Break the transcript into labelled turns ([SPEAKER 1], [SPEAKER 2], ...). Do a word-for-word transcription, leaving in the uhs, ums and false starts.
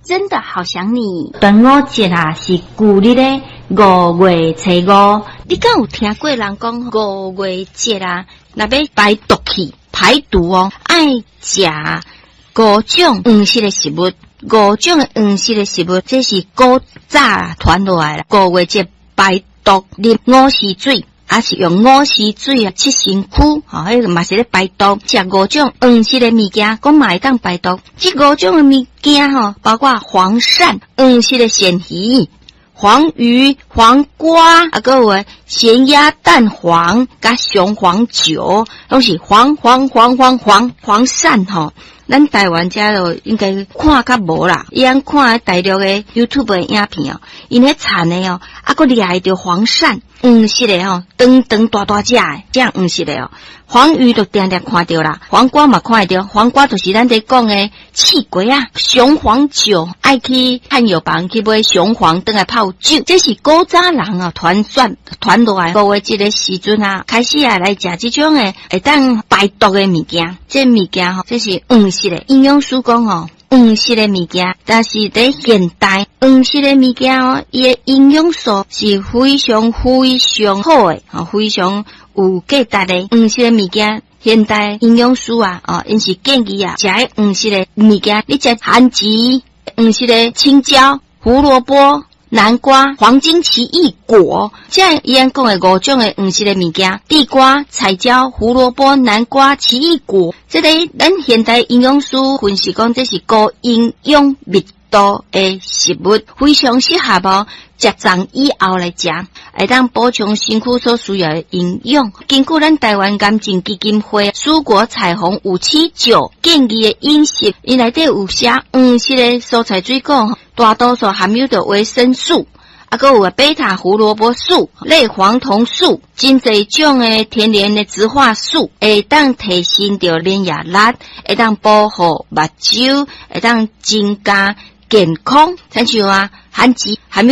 [SPEAKER 1] 真的好想你。
[SPEAKER 2] 端午節啊，是舊曆的五月初五。
[SPEAKER 1] 你敢有聽過人講五月節啊？若欲排毒氣、排毒哦，愛食五種黃色的食物，五種的黃色的食物，這是古早傳落來啦。五月節排毒，啉午時水，抑是用午時水啊，拭身軀，吼，彼個嘛是咧排毒。食五種黃色的物件，講嘛會當排毒。這五種的物件吼，包括黃鱔、黃色的鱔魚、黃魚、黃瓜，啊，閣有鹹鴨蛋黃，佮雄黃酒，攏是黃黃黃黃黃黃鱔吼。咱台灣遮就應該看較無啦，伊按看大陸的 YouTube 的影片哦，𪜶彼田的哦，啊，閣掠著黃鱔，黃色的吼，長長大大隻的，這黃色的哦。黃魚就定定看著啦，黃瓜嘛看會著，黃瓜就是咱佇講的刺瓜仔。雄黃酒愛去漢藥房去買雄黃，轉來泡酒，這是古早人啊傳說傳落來。五月節的時陣啊，開始啊來食這種的會當排毒的物件。這物件吼，這是黃色的。營養師講吼，黃色的物件，但是佇現代黃色的物件哦，伊的營養素是非常非常好的，吼，非常有價值的黃色的物件。現代營養師啊，哦，𪜶是建議啊，食黃色的物件，你食番薯、黃色的青椒、胡蘿蔔、南瓜、黃金奇異果，這伊按講的五種的黃色的物件：地瓜、彩椒、胡蘿蔔、南瓜、奇異果。這個咱現代營養師分析講，這是高營養密度的食物，非常適合哦，食粽以後來食，會當補充身軀所需要的營養。根據咱台灣癌症基金會蔬果彩虹五七九建議的飲食，伊內底有寫黃色的蔬菜水果，大多數含有著維生素，啊，閣有貝塔胡蘿蔔素、類黃酮素，真濟種的天然的植化素，會當提升著免疫力，會當保護目睭，會當增加健康。親像啊，番薯含有